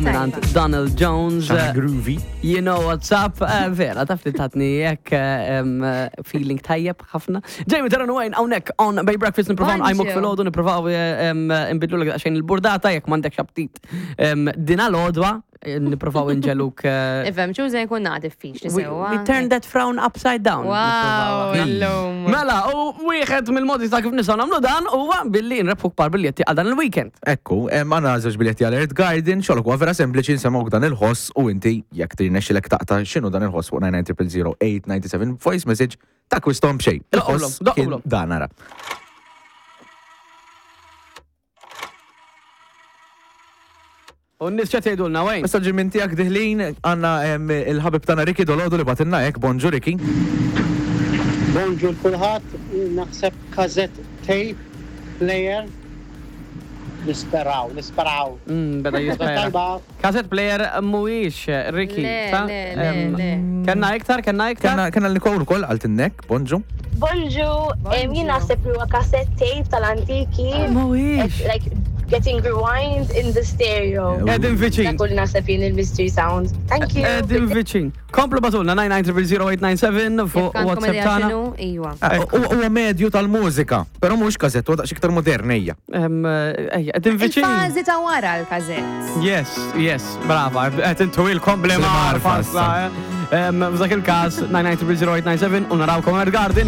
Minant Donald Jones. Xaħna groovy. You know what's up. Eh, vera, taf li tatni jekk eh, eh, feeling tajjeb ħafna. Jamie Taran Wayne, hawnhekk on Bay Breakfast niprofaw nqajmuk fil-ħodu, niprofaw nbidlu l xejn il-burdata jekk m'għandekx aptit. Dina l-għodwa, niprofaw inġeluk. Ifhem, ċuża jkun naqra diffiċli sewwa. We turn that frown upside down. Wow, illum. Mela, u wieħed mill-modi ta' kif nistgħu nagħmlu dan huwa billi nrebħu kbar biljetti għal dan il-weekend. Ekku, għandna żewġ biljetti għal Earth Garden, xogħlok huwa vera sempliċi nsemgħuk dan il-ħoss u inti jekk tirnexxilek taqta' x'inhu dan il-ħoss fuq 99 897 voice message takkwisthom b'xejn. Il-ħoss kien dan ara. U n-nies x'qed jgħidulna Wayne? Messaġġi minn tiegħek diħlin, għandna il-ħabib tagħna Ricky Dolodu li bagħtilna hekk, bonġu Ricky. Bonġu l kulħadd, jien naħseb cassette tape player nisperaw, nisperaw. Mm, beda jispera. Tajba. Cassette player mhuwiex Ricky. Le, ta? le, le, Em, le. Kenna iktar, kenna iktar? Kenna kenna l-Nicole ukoll qaltilnek, bonġu. Bonġu, em, jien naħseb li huwa cassette tape tal-antiki. Mhuwiex. Like getting rewind in the stereo. Qegħdin viċin. Dak li naħseb jien il-mystery sound. Thank you. Qegħdin viċin. Komplu batulna 9900897 fuq Jekk għandkom WhatsApp idea tagħna. x'inhu, iwa. Ah, Huwa medju tal-mużika, però mhux kazett, huwa daqs iktar modern ejja. Em, Ejja, qegħdin viċin. Il-fażi ta' wara l-kazett. Yes, yes, brava, qed intu ilkom bli Bli marfa marfa issa, eh. Em, F'dak il-każ 9900897 u narawkom Earth Garden.